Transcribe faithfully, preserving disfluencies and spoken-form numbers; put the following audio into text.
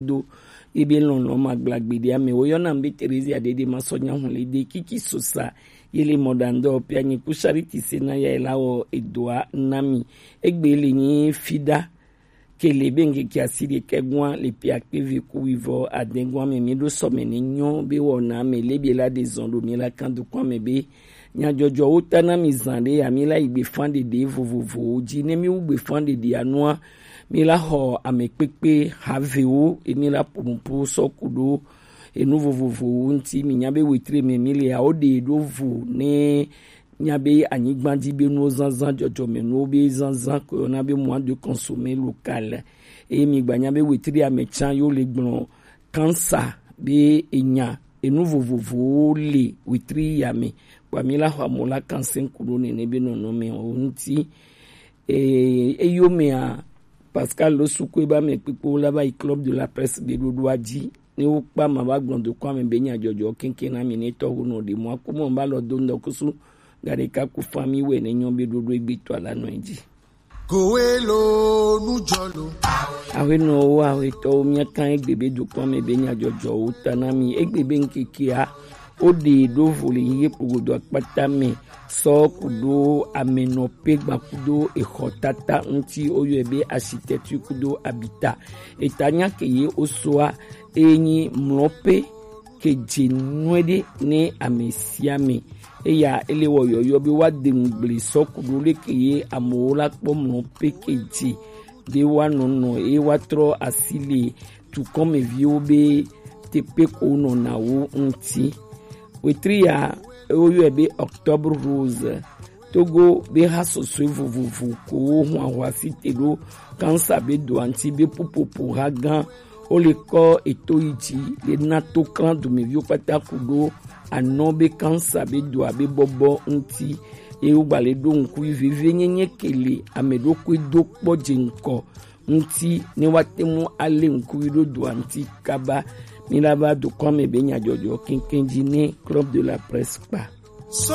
do ebe lɔlɔ ma gbla gbeɖe ame. Woyɔna be Terezia ɖeɖe ma sɔ nya hun le de kiki sosa ye le mɔ ɖa ŋdɔ pia nyi ku Charity se na ya la wɔ edoa na mi. Egbe le nyi Fida Kele be ŋkeke asi ɖekɛ gua le pia kpe ve ku wivɔ adɛn gua me mi ɖo sɔme ne nyɔ be wɔna me le bi la de zɔn ɖo mi la kan do kua me be nyadzɔdzɔwo ta na mi zan ɖe ya mi la yi gbefan ɖeɖe vovovowo dzi. Ne mi wu gbefan ɖeɖe anua, mi la xɔ ame kpekpe havewo, emi la ƒo nuƒo sɔ ku ɖo enu vovovowo ŋuti. Mi nya be wetre me mi le awo ɖe ɖo vo ne nya be anyigba dzi be nuwo zazã, dzɔdzɔme nuwo be zazã ko yɔna be mois de consommer local. Eye mi gba nya be wetre ame tsa yo le gblɔ cancer be enya enu vovovowo le wetre ya me. Kpa mi la xɔ amo la cancer ku ɖo nene be nɔnɔme o ŋuti. Eye eyomea, Pascal Losukue ba ame kpekpewo la va yi Club de la Presse gbeɖoɖoa dzi. Ne wokpa ma va gblɔ dokɔ ame be nyadzɔdzɔ keŋkeŋ na mi ne tɔwo nɔ ɖe mɔ aku mɔ ba lɔ do ŋdɔ kusu ga ɖeka ku fa mi wɛ ne nyɔ be ɖoɖo egbe tɔ la nɔ dzi. Kowe lo nu jɔ lo. Awenɔwo, awetɔwo, mía kan egbe be dokɔ ame be nyadzɔdzɔwo ta na mi. Egbe be ŋkekea, wo ɖe ɖo vo le yiye kpogodo akpata me sɔ kudo amenɔpe gba kudo exɔ tata ŋuti woyɔe be architecture kudo habitat. Eta nya ke ye wosoa enyi mlɔpe ke dze nueɖe ne ame sia ame. Eya ele wɔ yɔyɔ be woade ŋugble sɔ kudo leke ye amewo la kpɔ mlɔpe ke dze be woanɔ nɔ eye woatrɔ asi le tukɔmeviwo be teƒe ko nɔna wo ŋuti. Wetri ya woyɔe be Octobre Rose. Togo be ha sɔsɔe vovovo ko wo hun ahwasi te ɖo kansa be doa ŋuti be ƒuƒoƒo ha gã wo le kɔ eto yi dzi le na to klan dumeviwo kpata ku ɖo anɔ be kansa be doa be bɔbɔ ŋuti. Ye wogba le ɖo ŋku yi veve nyenye ke le ame ɖokui do kpɔ dze ŋkɔ ŋuti ne woate ŋu alé ŋku yi ɖo doa ŋuti kaba. Mi la va dukɔa me be nyadzɔdzɔ keŋkeŋ dzi ne Club de la Presse kpa.